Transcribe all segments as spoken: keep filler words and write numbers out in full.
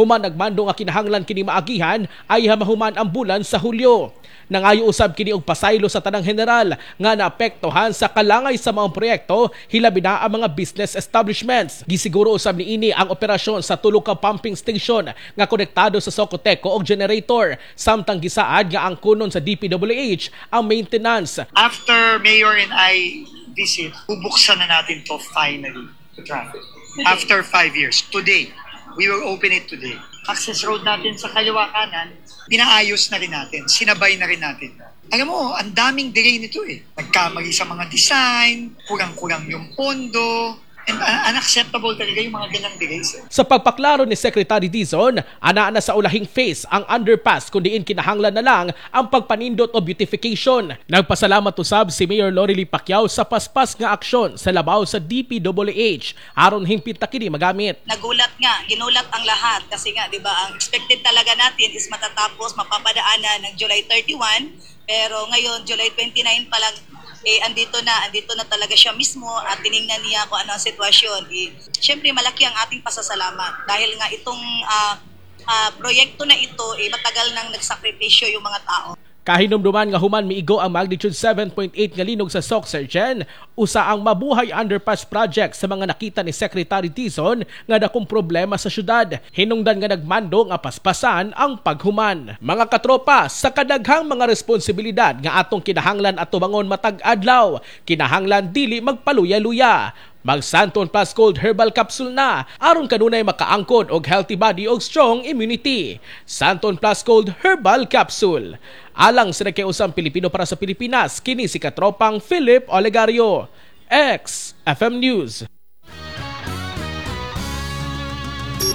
Human nagmando nga kinahanglan kini maagihan ay mahuman ang bulan sa Hulyo. Nangayo usab kini og pasaylo sa tanang general nga naapektuhan sa kalangay sa mga proyekto, hilabi na ang mga business establishments. Gisiguro usab niini ang operasyon sa tulo ka pumping station nga konektado sa Socoteco og generator, samtang gisaad nga ang kunon sa D P W H ang maintenance. After Mayor and I visit, bubuksan na natin to finally to traffic. After five years. Today, we will open it today. Access road natin sa kaliwa kanan, pinaayos na rin natin, sinabay na rin natin. Alam mo, ang daming delay nito eh. Nagkamali sa mga design, kurang-kurang yung pondo, and uh, unacceptable talaga yung mga ganang delays eh. Sa pagpaklaro ni Secretary Dizon, ana na sa ulahing phase ang underpass kung diin kinahanglan na lang ang pagpanindot o beautification. Nagpasalamat usab si Mayor Lorely Pacquiao sa paspas nga aksyon sa labaw sa D P W H aron hingpit na kini magamit. Nagulat nga, ginulat ang lahat kasi nga, 'di ba, ang expected talaga natin is matatapos, mapapadaanan ng July thirty-one, pero ngayon July twenty-nine pa lang eh andito na, andito na talaga siya mismo at tiningnan niya kung ano ang sitwasyon. Eh, syempre malaki ang ating pasasalamat dahil nga itong ah, ah, proyekto na ito eh matagal nang nagsakripisyo yung mga tao. Kahinumduman nga human miigo ang magnitude seven point eight nga linog sa Soccsksargen, usa ang Mabuhay Underpass Project sa mga nakita ni Secretary Dizon nga dakong problema sa syudad. Hinungdan nga nagmando nga paspasan ang paghuman. Mga katropa, sa kadaghang mga responsibilidad nga atong kinahanglan at tubangon matag adlaw, kinahanglan dili magpaluya-luya. Mag-Santon Plus Gold Herbal Capsule na aron kanunay makaangkon og healthy body og strong immunity. Santon Plus Gold Herbal Capsule. Alang sa nagkausang Pilipino para sa Pilipinas, kini si katropang Philip Olegario. X F M News.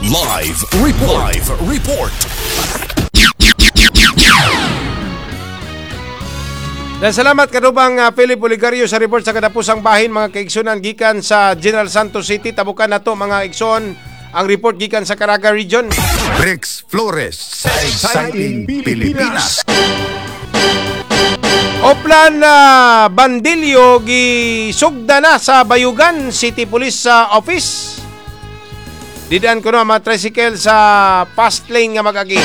Live Report. Live Report. Dan salamat katropang uh, Philip Oligario sa report sa kadapusang bahin, mga kaigsunan, gikan sa General Santos City. Tabukan nato, mga igsoon, ang report gikan sa Caraga Region. Rex Flores sa Exciting Pilipinas. Oplan na uh, bandilyo gisugda na sa Bayugan City Police uh, Office. Didaan ko na mga tricycle sa fast lane nga mag-agi.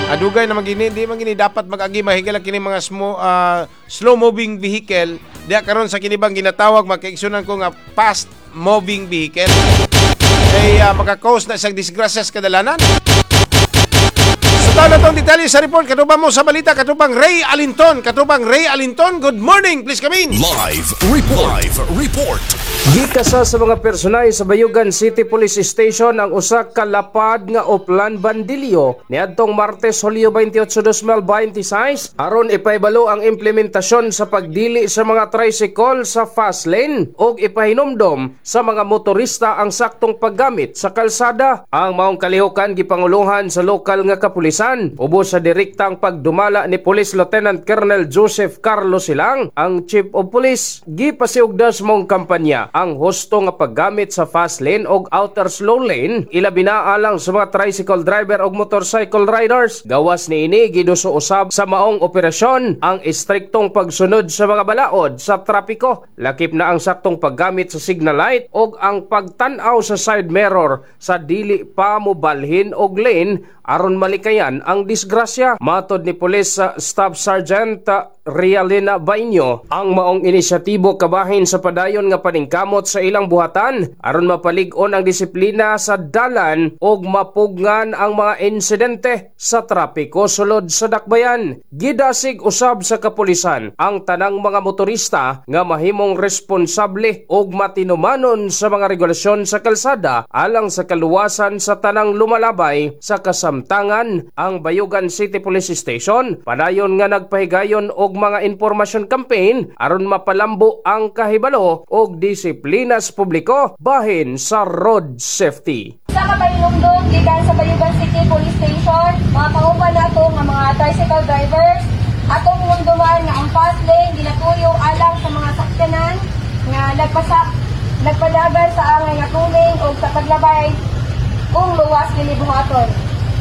Adugay na magini, di man gini dapat mag-agi, mahigala kini mga smo, uh, slow moving vehicle. Diya karon sa kinibang ginatawag, makaigsunan ko, nga fast moving vehicle. Kay uh, maka-cause na isang disgrasya sa kadalanan. Sa taon na tong detalye sa report, katubang mo sa balita, katubang Ray Alinton. Katubang Ray Alinton, good morning. Please come in. Live Report. Live Report. Gikasa sa mga personay sa Bayugan City Police Station ang usa ka lapad nga Oplan bandilyo niadtong Martes, Hulyo twenty-eight, twenty twenty-six aron ipahibalo ang implementasyon sa pagdili sa mga tricycle sa fast lane ug ipahinumdom sa mga motorista ang saktong paggamit sa kalsada. Ang maong kalihukan gipanguluhan sa lokal nga kapulisan ubos sa direktang pagdumala ni Police Lieutenant Colonel Joseph Carlos Silang, ang Chief of Police. Gipasiugda sa maong kampanya ang husto nga paggamit sa fast lane og outer slow lane, ilabi na alang sa mga tricycle driver og motorcycle riders. Gawas niini, giduso usab sa maong operasyon ang estriktong pagsunod sa mga balaod sa trapiko, lakip na ang saktong paggamit sa signal light og ang pagtan-aw sa side mirror sa dili pa mobalhin og lane aron malikayan ang disgrasya. Matod ni Police uh, Staff Sergeant uh, Rialina Bainyo, ang maong inisyatibo kabahin sa padayon nga paningkamot sa ilang buhatan aron mapalig-on ang disiplina sa dalan ug mapugngan ang mga insidente sa trapiko sulod sa dakbayan. Gidasig usab sa kapulisan ang tanang mga motorista nga mahimong responsable ug matinumanon sa mga regulasyon sa kalsada alang sa kaluwasan sa tanang lumalabay. Sa kasamtangan, ang Bayugan City Police Station padayon nga nagpahigayon og mga information campaign aron mapalambo ang kahibalo og disiplina sa publiko bahin sa road safety. Sa kapahinumdom gikan sa Bayugan City Police Station, mga kauban nato nga mga tricycle drivers, atong hinumduman nga ang fast lane ginatuyo alang sa mga sakyanan nga nagpasa nagpadagan sa angay nga tulin o sa paglabay kung luwas kini buhaton.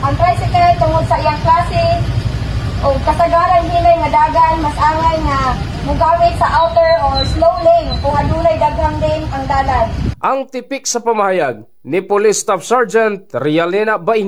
Ang tricycle, tungod sa iyang klase o kasagaran hinay nga dagan, mas angay nga mugamit sa outer or slow lane kung adunay daghang lane ang dalan. Ang tipik sa pamahayag ni Police Staff Sergeant Rialena Bainyo.